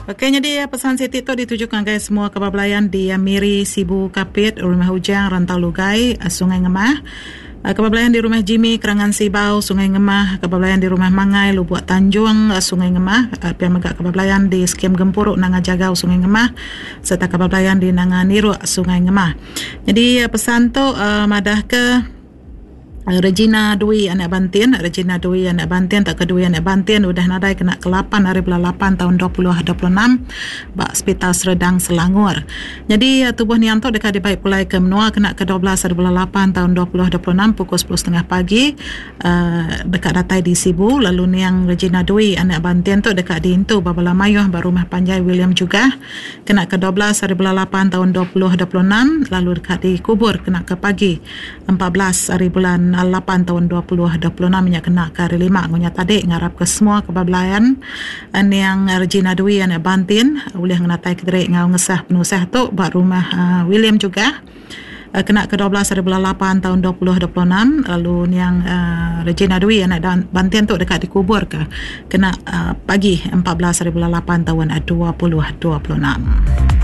Okey nyadi pesan siti tu dituju ngagai semua kaban belayan di Miri, Sibu, Kapit, Rumah Ujang, Rantau Lugai, Sungai Ngemah. Kaban belayan di Rumah Jimmy, Kerangan Sibau, Sungai Ngemah, kaban belayan di Rumah Mangai, Lubuk Tanjung, Sungai Ngemah, pia mega kaban belayan di Skim Gempuru Nanga Jagau, Sungai Ngemah sereta kaban belayan di Nanga Niruk, Sungai Ngemah. Nyadi pesan tu madahka Regina Dwi anak Bantin, Regina Dwi anak Bantin tauka Dwi anak Bantin udah nadai kena ke lapan ari bulan lapan taun 2026 ba Sepital Serdang Selangor. Nyadi tubuh niang tu deka dibai pulai ke menua kena ke 12 ari bulan lapan taun 2026 pukul sepuluh setengah pagi uhh deka datai di Sibu lalu niang Regina Dwi anak Bantin tu deka diintu ba bala mayuh ba Rumah Panjai William Jugah kena ke 12 ari bulan lapan taun 2026 lalu deka dikubur kena ke pagi 14 ari bulan lapan taun 2026 nya kena ke hari lima ngunya tadi ngarap ke semua ke ba belayan niang Regina Dwi anak Bantin ulih ngenatai kediri enggau ngesah penusah tu ba rumah William Jugah kena ke 12 ari bulan lapan taun 2026 lalu niang Regina Dwi anak Bantin tu deka dikubur ke kena pagi 14 ari bulan lapan taun 2026.